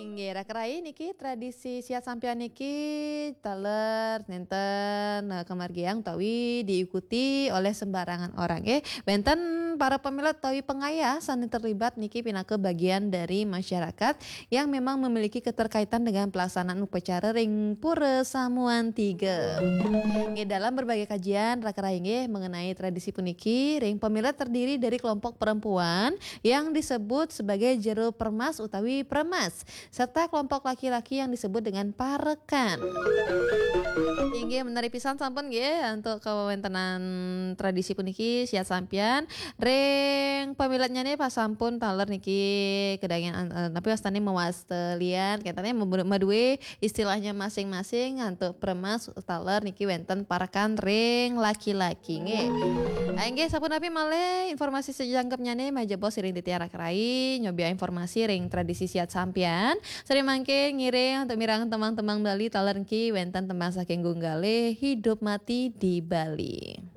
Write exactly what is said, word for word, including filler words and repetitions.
Inggih, raka rai, niki tradisi siat sampian niki taler nenten, eh, kemargiang utawi diikuti oleh sembarangan orang, nggih. Wenten para pamilet utawi pengayah sane terlibat niki pinaka bagian dari masyarakat yang memang memiliki keterkaitan dengan pelaksanaan upacara ring Pura Samuan Tiga. Nggih, dalam berbagai kajian, raka rai, nggih, mengenai tradisi puniki, ring pamilet terdiri dari kelompok perempuan yang disebut sebagai jero permas utawi premas, serta kelompok laki-laki yang disebut dengan parekan. Inggih, menawi pisan sampun, nggih, untuk kawentenan tradisi puniki siat sampian. Ring pamiletnyane pasampun taler niki kedangen, eh, napi wastane mawastelian, ketane maduwe istilahnya masing-masing, untuk premas taler niki wenten parekan ring laki-laki, nggih. Ah, inggih, sapunapi malih informasi sajangkepnyane, majebos ring titiang raka rai, nyobiahang informasi ring tradisi siat sampian. Sare mangkin ngiring untuk mirengang tembang-tembang Bali, taler niki wenten tembang saking Gunggale, Hidup Mati di Bali.